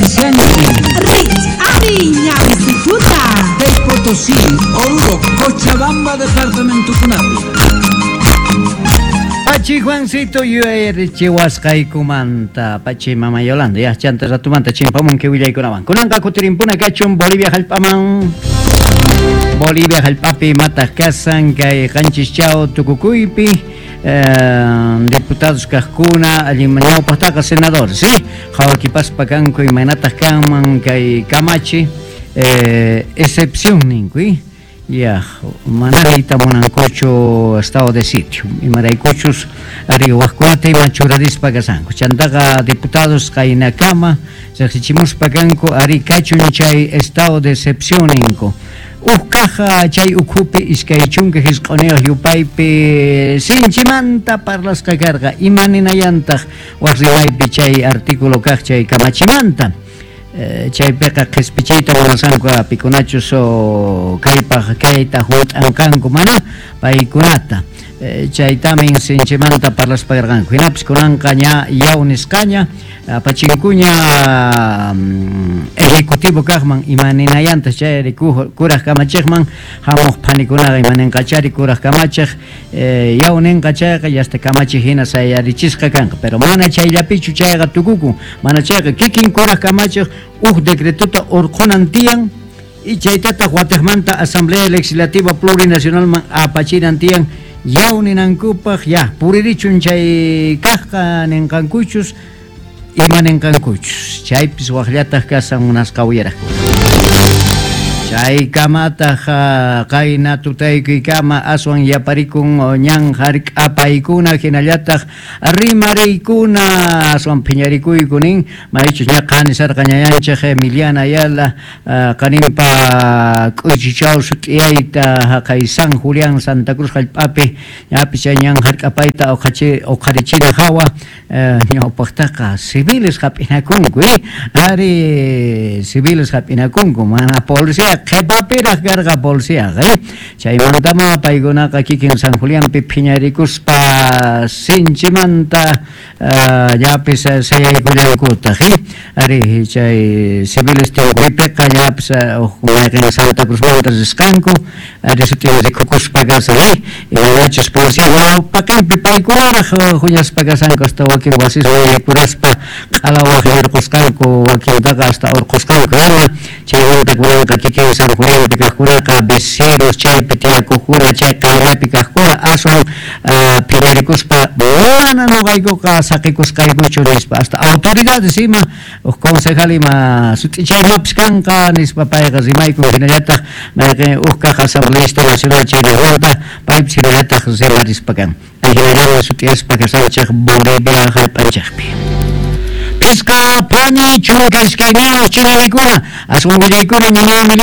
Auspiciante. Rikch'ariy ñawisituta. Kay Potosí, Oruro, Cochabamba departamentokunapi. Pachi Juancito yuyarichiwasqaykumanta pachi mama Yolanda ya chanta ratumanta chimpamunki willaykunawan kunanqa kutirimpuna kachun Bolivia hallp'aman. Bolivia hallp'api imataq kasan kay qanchis chaw tukukuypi diputados kaqkuna allin ñawpaqtaqa senadores, ¿sí? Qhawakipaspa kanku imaynataq kanman kay kamachi excepción ninku, ya mana riyta munankuchu estado de sitio imaraykuchus ari waqkunata ima churarispa kasanku chantaqa diputados qaynakama riqsichimuspa kanku ari kachun chay estado de excepción ninku uj caja chay ukhupi 25 yupaypi sinchimanta parlasqa karqa ima ninayantaq waq rimaypi chay artículo kaq chay kamachimanta chaypiqa qhispichiyta munasanku pikunachus kaypaq kayta hunt'anqanku mana paykunata chaytamin sinchimanta parlaspa karqanku hinapis kunanqa ña yaw nisqaña apachinkuña ejecutivo kaqman ima ninayantaq chayri kuraq kamachiqman hamuq phanikunaqa ima ninqachari kuraq kamachiq yaw ninqa chayqa yasta kamachiq hina sayarichisqa kanqa pero mana chayllapichu chayqa tukukun mana chayqa kikin kuraq kamachiq uj decretota urqunan tiyan y chaytataq watiqmanta Asamblea Legislativa Plurinacionalman apachinan tiyan yaw ninankupaq ya puririchun chay kaqqa ninqankuchus ima ninqankuchus chaypis waqllataq kasan munasqa uyaraqkuna chaykamataq qayna tutaykuykama aswan yaparikun ñan hark'apaykuna hinallataq rimariykuna aswan phiñarikuyku nin maychus ña qanisarqa ñayanchik Emiliana Ayala qaninpa k'uychichaw sut'iyayta haqay San Julián Santa Cruz hallp'api ñapis chay ñan hark'apayta uqharichina hawa ñawpaqtaqa civiles hap'inakunku ari civiles hap'inakunku mana policía qhipapiraq karqa policiaqa chaymantama paykunaqa kikin San Julianpi phiñarikuspa sinchimanta llapis sayaykullankutaq ari chay civiles tinkuypiqa llapis mayqin Santa Cruzmanta risqanku ari sutin rikukuspa kasan imanachus policía ñawpaqinpi paykunaraq huñaspa kasanku hasta wakin wasiswan yaykuraspa q'alawaq yurqusqanku wakintaqa hasta urqusqanku ima chaymanta kunanqa kikin San Julianpi kaqkunaqa vecinos chaypi tiyakuqkuna chay qayllapi kaqkuna aswan phiñarikuspa mana nuqaykuqa saqikusqaykuchu nispa hasta autoridades ima uj concejal ima sut'ichaymapis kanqa nispa payqa rimaykun hinallataq mayqin uj kaq asambleísta nacional chaynamanta paypis hinallataq rimarispa kan hinallataq sut'iyaspa kasanchik Bolivia hallp'anchikpi. Pisqa phani 12 chinalikuna aswan willaykuna ñaña.